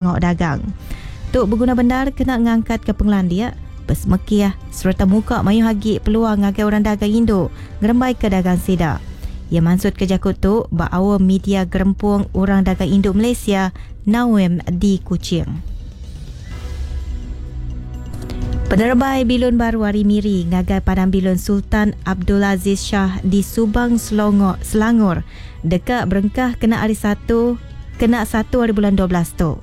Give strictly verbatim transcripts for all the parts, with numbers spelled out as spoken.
Ngok dagang. Tu berguna benar kena ngangkat ke pengelandia, besemekiah serta muka mayu hagi peluang ngagai orang dagang Indo ngerembai ke dagang sida. Ia maksud ke jakut tu ba awal media gerempung orang dagang Indo Malaysia Nawem di Kuching. Penerbai bilun baru hari Miri ngagai Padang Bilun Sultan Abdul Aziz Shah di Subang Selangor, Selangor dekat berengkah kena hari satu kena satu hari bulan dua belas tu.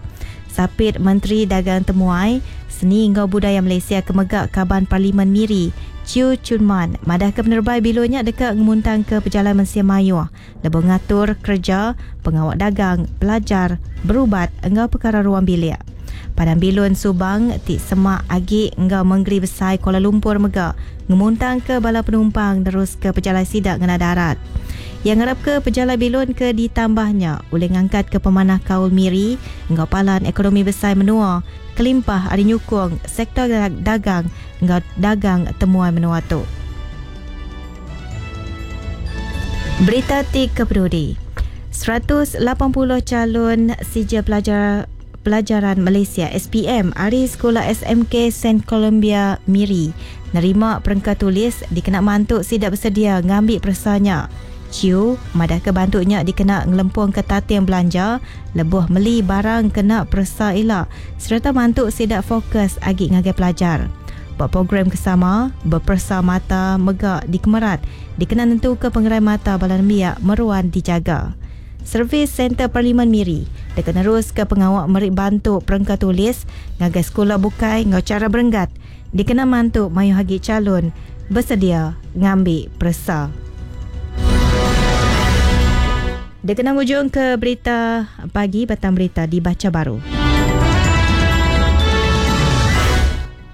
Sapit Menteri Dagang Temuai Seni Ngau Budaya Malaysia kemegak Kaban Parlimen Miri Chiu Chun Man madah ke penerbai bilunnya dekat ngemuntang ke pejalan Mensia Mayuh lebuh ngatur kerja pengawak dagang pelajar berubat engau perkara ruang bilik. Padang Bilun Subang ti semak agi engau Menggeri Besai Kuala Lumpur mega ngemuntang ke bala penumpang terus ke pejalan sidak ngena darat. Yang ngarap ke pejalan bilun ke ditambahnya oleh ngangkat ke pemanah kaul Miri engau palan ekonomi besar menua kelimpah ari nyukung sektor dagang engau dagang temuan menua tu. Berita ti kepeduli. seratus lapan puluh calon sijil pelajar Pelajaran Malaysia S P M ari Sekolah S M K Saint Columbia Miri nerima perengka tulis dikena mantuk sidak bersedia ngambil persanya. Ciu madah ke bantuknya dikena ngelempung ke tating belanja lebuh meli barang kena persa ila serta mantuk sidak fokus agi ngagai pelajar. Buat program kesama berpersa mata megak di Kemerat dikena nentu ke pengerai mata balan miak meruan dijaga. Servis Center Parlimen Miri dekat nerus ke pengawak merik bantu perengka tulis ngagai sekolah bukai ngau cara berenggat dikena mantu mayu hagi calon bersedia ngambil persa. Dikena ujung ke berita pagi, batang berita dibaca baru.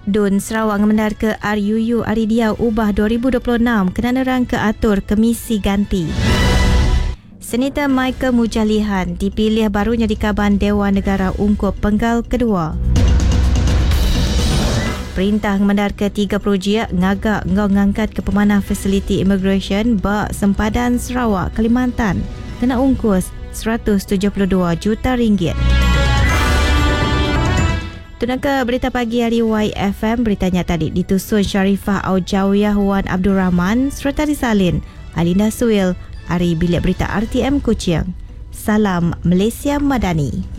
Dun Sarawak ngemendar ke R U U Ari Dia Ubah dua ribu dua puluh enam kena nerang ke atur Komisi Ganti. Senator Michael Mujalihan dipilih barunya di Kaban Dewan Negara Ungkup Penggal Kedua. Perintah ngemendar ke tiga projek ngagak ngau ngangkat ke pemanah fasiliti immigration bak sempadan Sarawak Kalimantan kena ungkus seratus tujuh puluh dua juta ringgit. Tunaka berita pagi hari Y F M, beritanya tadi ditusun Sharifah Aujawiyah Wan Abdul Rahman serta disalin Alinda Suil hari Bilik Berita R T M Kuching. Salam Malaysia Madani.